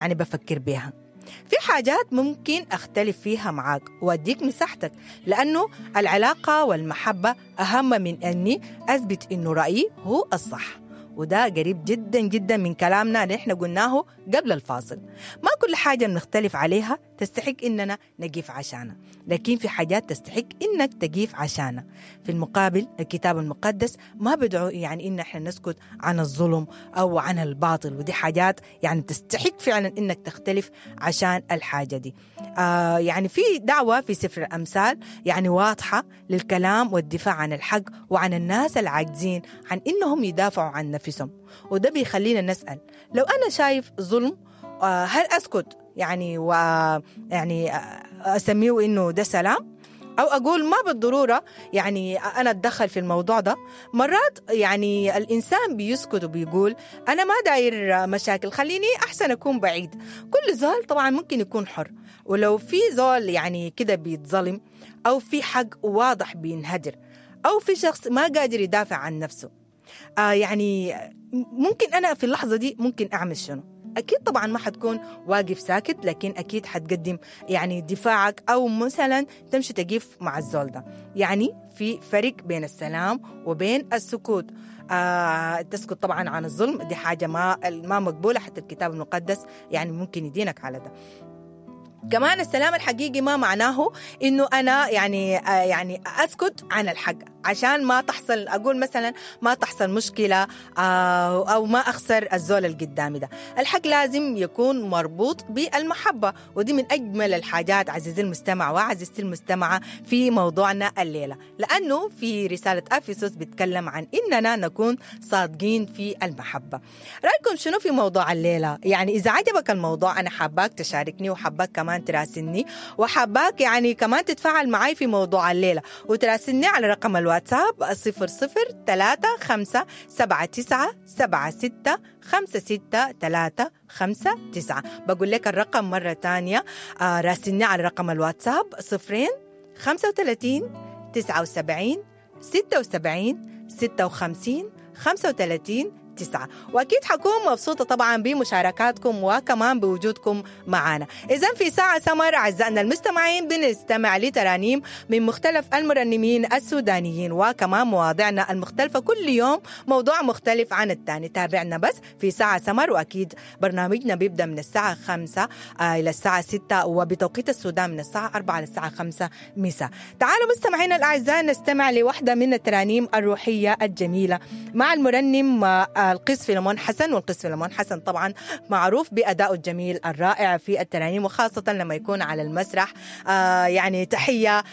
يعني بفكر بيها. في حاجات ممكن أختلف فيها معاك وأديك مساحتك، لأنه العلاقة والمحبة أهم من أني أثبت إنه رأيي هو الصح. وده قريب جدا جدا من كلامنا اللي احنا قلناه قبل الفاصل. ما كل حاجة بنختلف عليها تستحق إننا نقيف عشانها، لكن في حاجات تستحق إنك تقيف عشانها. في المقابل الكتاب المقدس ما بدعو يعني إن احنا نسكت عن الظلم أو عن الباطل، ودي حاجات يعني تستحق فعلا إنك تختلف عشان الحاجة دي. يعني في دعوة في سفر الأمثال يعني واضحة للكلام والدفاع عن الحق وعن الناس العاجزين عن إنهم يدافعوا عن نفسهم. وده بيخلينا نسأل، لو أنا شايف ظلم هل أسكت يعني و يعني أسميه إنه ده سلام؟ أو أقول ما بالضرورة يعني أنا أتدخل في الموضوع ده. مرات يعني الإنسان بيسكت وبيقول أنا ما داير مشاكل، خليني أحسن أكون بعيد. كل زول طبعا ممكن يكون حر، ولو في زول يعني كده بيتظلم أو في حق واضح بينهدر أو في شخص ما قادر يدافع عن نفسه، يعني ممكن أنا في اللحظة دي ممكن أعمل شنو؟ أكيد طبعا ما حتكون واقف ساكت، لكن أكيد حتقدم يعني دفاعك، أو مثلا تمشي تقف مع الزول ده. يعني في فرق بين السلام وبين السكوت. تسكت طبعا عن الظلم دي حاجة ما مقبولة، حتى الكتاب المقدس يعني ممكن يدينك على ده. كمان السلام الحقيقي ما معناه إنه أنا يعني أسكت عن الحق عشان ما تحصل، أقول مثلا ما تحصل مشكلة أو ما أخسر الزول القدامي ده. الحق لازم يكون مربوط بالمحبة، ودي من أجمل الحاجات عزيزي المستمع وعزيزتي المستمعة في موضوعنا الليلة، لأنه في رسالة أفسس بتكلم عن إننا نكون صادقين في المحبة. رأيكم شنو في موضوع الليلة؟ يعني إذا عجبك الموضوع أنا حاباك تشاركني، وحاباك كمان تراسلني، وحاباك يعني كمان تتفاعل معي في موضوع الليلة، وتراسلني على رقم الواتساب 003 5 7 9 7 6 5 6 3 5 9. بقول لك الرقم مرة تانية، راسلني على رقم الواتساب 0 35 79 76 56 35 9. وأكيد حكون مبسوطة طبعا بمشاركاتكم وكمان بوجودكم معنا. إذن في ساعة سمر أعزائنا المستمعين بنستمع لترانيم من مختلف المرنمين السودانيين، وكمان مواضيعنا المختلفة، كل يوم موضوع مختلف عن الثاني. تابعنا بس في ساعة سمر، وأكيد برنامجنا بيبدأ من الساعة 5 إلى الساعة 6، وبتوقيت السودان من الساعة 4 للساعة 5 مساء. تعالوا مستمعينا الأعزاء نستمع لوحدة من الترانيم الروحية الجميلة مع المرنم القس فيلمون حسن. والقس فيلمون حسن طبعا معروف بأدائه الجميل الرائع في الترانيم، وخاصة لما يكون على المسرح. يعني تحية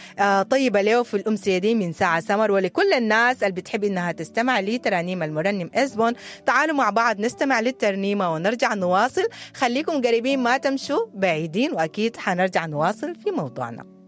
طيبة له في الأمسية دي من ساعة سمر، ولكل الناس اللي بتحب إنها تستمع لترانيم المرنم إسبون. تعالوا مع بعض نستمع للترنيمة ونرجع نواصل. خليكم قريبين ما تمشوا بعيدين، وأكيد حنرجع نواصل في موضوعنا.